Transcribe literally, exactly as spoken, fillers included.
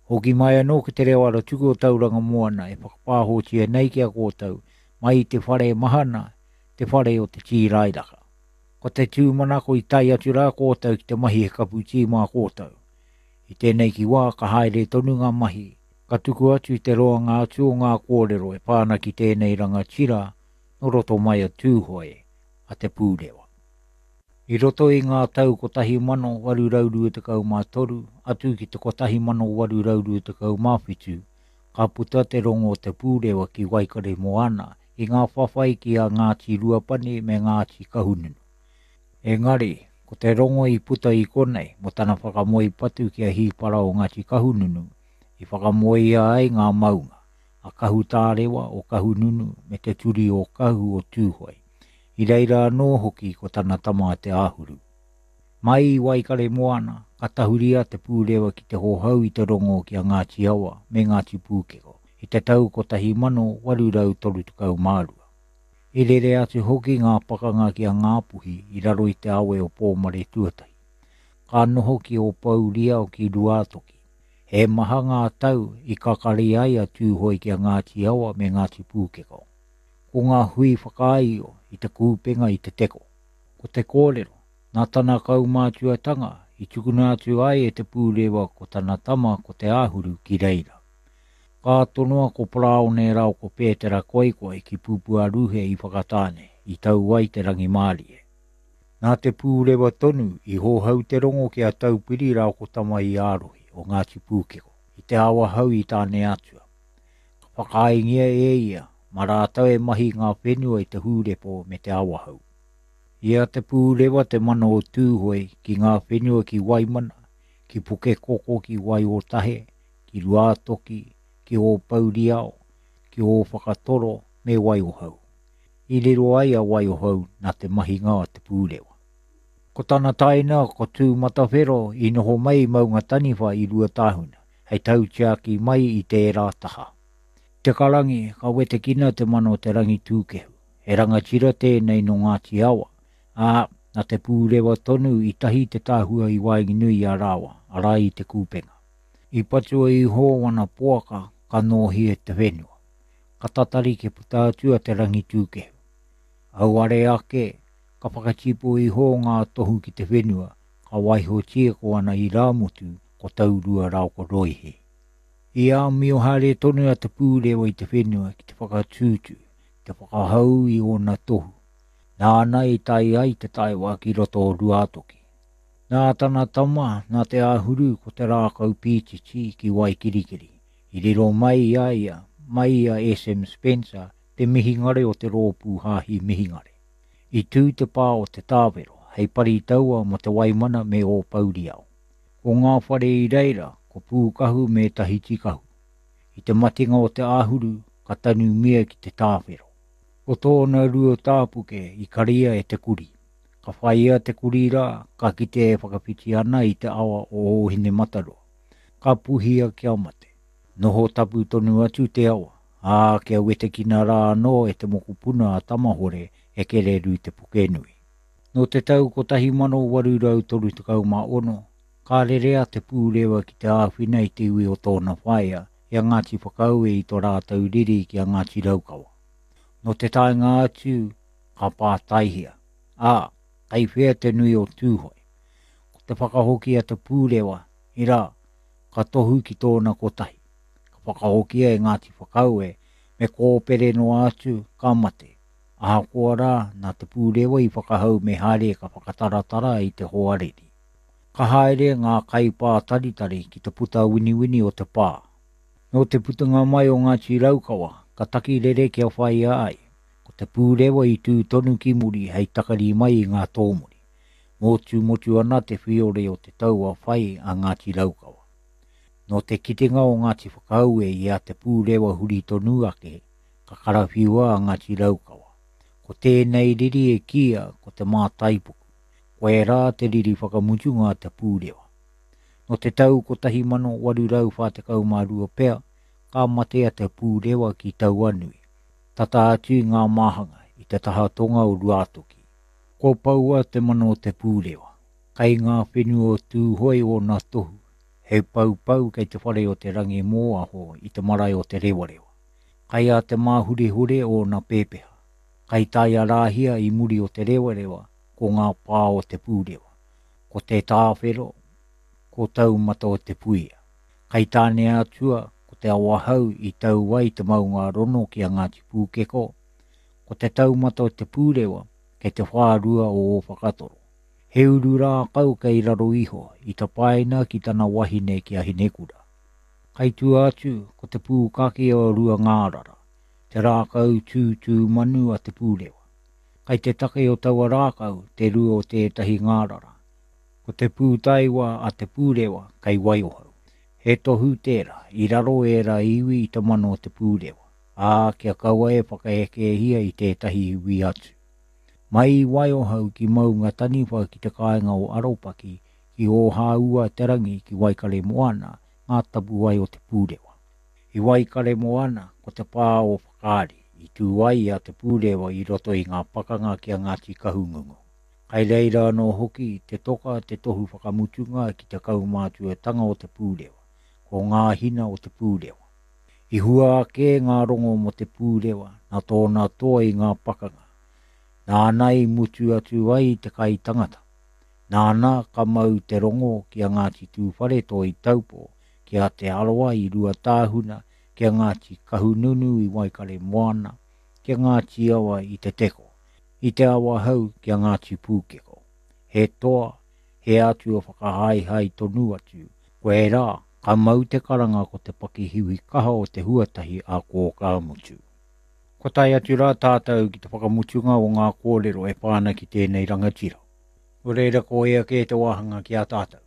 Hoki mai anō ki te reo aratuku o Tauranga Moana e whakapāhotia nei ki a kōtou mai i te whare mahana, te whare o te tīrairaka. Ko te tūmanako i tae atu rā kōtou ki te mahi he kapu tī mā kōtou. I tēnei ki wā ka haere tonu ngā mahi, ka tuku atu i te roanga atu o ngā kōrero e pā ana ki tēnei rangatira no roto mai a Tūhoe, a Te Pūrewa. I roto i ngā tau kotahi mano waru rau rua tekau mā toru, atu ki te kotahi mano waru rau rua tekau mā whitu, ka puta te rongo o Te Pūrewa ki Waikaremoana i ngā whawhai ki a Ngāti Ruapani me Ngāti Kahungunu. Engari, ko te rongo i puta i konei mo tana whakamoe patu ki a Hīpara o Ngāti Kahungunu, i whakamoea ai ngā maunga, a Kahutārewa o Kahungunu me te turi o Kahu o Tūhoe. I reira anō hoki ko tana tama Te Āhuru. Mai i Waikaremoana, ka tahuria Te Pūrewa ki te hohau i te rongo ki a Ngāti Awa me Ngāti Pūkeko i te tau kotahi mano waru rau toru tekau mā rua. I rere atu hoki ngā pakanga ki a Ngāpuhi i raro i te awe o Pōmare Tuatahi. Ka noho ki Ōpouria o ki Ruātoki. He maha ngā tau i kakari ai a Tūhoe ki a Ngāti Awa me Ngāti Pūkeko. Ko ngā hui whakaaio i te kūpenga i te teko. Ko te kōrero, nā tana kaumātuatanga i tukuna atu ai e Te Pūrewa ko tana tama ko Te Āhuru ki reira. Ka tonoa ko Paraone rao ko Pētera Koikoi ki Pupuaruhe i Whakatāne, i tau ai te rangimārie. Nā Te Pūrewa tonu i hohau te rongo ki a Taupiri rao ko Tama i Ārohi o Ngāti Pūkeko, i te awahau i Tāne Atua. Ka whakaaengia e ia, mā rātou e mahi ngā whenua i te hūrepo me te awahau. I a Te Pūrewa te mana o Tūhoe ki ngā whenua ki Waimana, ki Pukekoko ki Waiotahe, ki Ruātoki, ki Ōpouriao, ki Ōwhakatoro me Waiohau. I riro ai a Waiohau nā te mahinga o Te Pūrewa. Ko tana taina ko Tūmatawhero i noho mai i Maunga Taniwha i Ruatāhuna, hei tautiaki mai i tērā taha. Te karangi ka wetekina te mana o Te Rangitūkehu, he rangatira tēnei no Ngāti Awa, ā, nā Te Pūrewa tonu i tahi te tāhua i waenganui i a rāua, arā i te kūpenga. I patua iho wana poaka ka nōhia te whenua. Ka tatari ke puta atu a Te Rangitūkehu. Auare ake, ka whakatipu iho ngā tohu ki te whenua, ka waihotia ko ana i Rāmotu ko Taurua rao ko Roihi. I āmio haere tonu a Te Pūrewa i te whenua ki te whakatūtū, te whakahau i ōna tohu. Nāna i tae ai te taewa ki roto o Ruātoki. Nā tana tama, nā Te Āhuru ko te rākau pītiti ki Waikirikiri. I riro mai i a ia, mai i a S M Spencer, te mihingare o te rōpū hāhi mihingare. I tū te pā o te tāwero, hei pari taua mo te Waimana me Ōpouriao. Ko ngā whare i reira, ko Pūkahu me Tahiti Kahu. I te matinga o Te Āhuru, ka tanumia ki te tāwhero. Ko tōna rua tāpuke i karia e te kuri. Ka whaia te kuri rā, ka kite e whakawhiti ana i te awa o Ōhinemataroa. Ka puhia kia mate. Noho tapu tonu atu te awa, ā, kia wetekina rā anō e te mokopuna a Tamahore e Kereru te Pukenui. Nō te tau kotahi mano waru rau toru tekau mā ono, ka rerea Te Pūrewa ki te āwhina i te iwi o tōna whaea i a Ngāti Whakaue i tō rātou riri ki a Ngāti Raukawa. Nō te taenga atu, ka pātaihia, ā, kei whea te nui o Tūhoe. Ko te whakahoki a Te Pūrewa, i rā, ka tohu ki tōna kotahi. Ka whakahokia e Ngāti Whakaue, me kōpere noa atu, ka mate. Ahakoa rā, nā Te Pūrewa i whakahau me haere ka whakataratara i te hoariri. Ka haere ngā kaipātaritari ki te puta winiwini o te pā. Nō te putanga mai o Ngāti Raukawa, ka taki rere kia whaia ai. Ko Te Pūrewa i tū tonu ki muri hei takari mai i ngā tōmuri. Motu motu ana te whiore o te taua whai a Ngāti Raukawa. Nō te kitenga o Ngāti Whakaue i a Te Pūrewa huri tonu ake, ka karawhiua a Ngāti Raukawa. Ko tēnei riri e kia ko te mātaipuku. Ko e rā te riri whakamutunga a Te Pūrewa. Nō te tau kotahi mano waru rau whā tekau mā rua pea, ka mate a Te Pūrewa ki Tauanui. Tata atu i ngā māhanga i te taha tonga o Ruātoki. Ko paua te mana o Te Pūrewa. Kei ngā whenua o Tūhoe ōna tohu, He paupau kei te whare o te rangi mōaho i te marae o te rewarewa. Kai a te māhurehure o nā pēpeha. Kai tai a rāhia i muri o te rewarewa ko ngā pā o te pūrewa. Ko te tāwhero, ko taumata o te puia. Kai tāne atua ko te awahau i tau ai te maunga rono ki a Ngāti Pūkeko, ko te taumata o te pūrewa kei te whārua o o whakatoro. He uru rākau kei raro iho i tapaina ki tana wahine ki a Hinekura. Kai tua atu ko te pūkake o rua ngārara, te rākau tūtū manu a te pūrewa. Kai te take o taua rākau te rua o tētahi ngārara. Ko te pūtaiwa a te pūrewa kei Waiohau. He tohu tērā, i raro era iwi i te mano o te pūrewa, ā kia kaua e whakaekehia i tētahi iwi atu. Mai i Waiohau ki Maunga Taniwha ki te kāinga o Aropaki, ki Ōhāua te rangi ki Waikare Moana, ngā tapuwae o te pūrewa. I Waikare Moana, ko te pā o Whakaari, i tū ai a te pūrewa i roto i ngā pakanga ki a Ngāti Kahungungu. Kai reira anō hoki te toka te tohu whakamutunga ki te kaumātuatanga o te pūrewa, ko ngā hina o te pūrewa. I hua ake ngā rongo mo te pūrewa, nā tōna toa i ngā pakanga. Nāna i mutu atu ai te kai tangata. Nāna ka mau te rongo ki a Ngāti Tūwharetoa i Taupo, ki a Te Arawa i Ruatāhuna, ki a Ngāti Kahununu i Waikare Moana, ki a Ngāti Awa i Te Teko, i Te Awahou ki a Ngāti Pūkeko. He toa, he atua whakahaehae tonu atu, ko e rā, ka mau te karanga ko te pakihiwi kaha o te huatahi a Kōkāmutu. Ko tae atu rā tātou ki te whakamutunga o ngā kōrero e pāna ki tēnei rangatira. Nō reira ko ea kē te wāhanga ki a tātou.